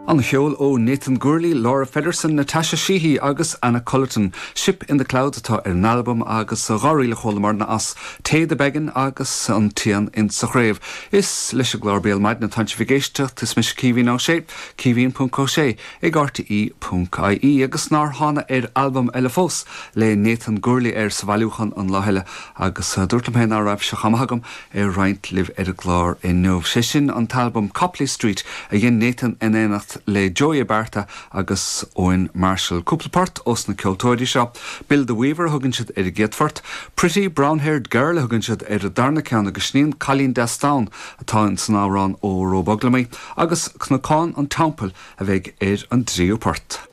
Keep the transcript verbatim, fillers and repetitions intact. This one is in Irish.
An cheol ó Nathan Gourley, Laura Feddersen, Natasha Sheehy agus Anna Cullerton. Ship in the Clouds atá ar an albam agus dhá ríl a chualamar as Té the Began agus an t-éan insa chraobh. Is leis an gclár Béal Maidine atá sibh ag éisteacht is mise Caoimhín Ó Sé, caoimhín.ó sé ag RTE.ie agus nár thána ar albam eile fós le Nathan Gourley ar sa bhailiúchán an lá eile agus dúirt mé ná raibh se chamagam ar roinnt libh ar an gclár inniu. Sé sin an t-albam Copley Street a dhein Nathan in éineacht le Joey Abarta agus Owen Marshall. Cúpla port ós na ceoltóirí seo. Bill the Weaver thugann siad ar an gcéad phort, Pretty Brown-haired Girl thugann siad ar an darna ceann agus sin Cailín Deas Donn atá san amhrán ó Rob Uglaimí, agus Cnocán an Teampaill a bheidh ar an dtríú port.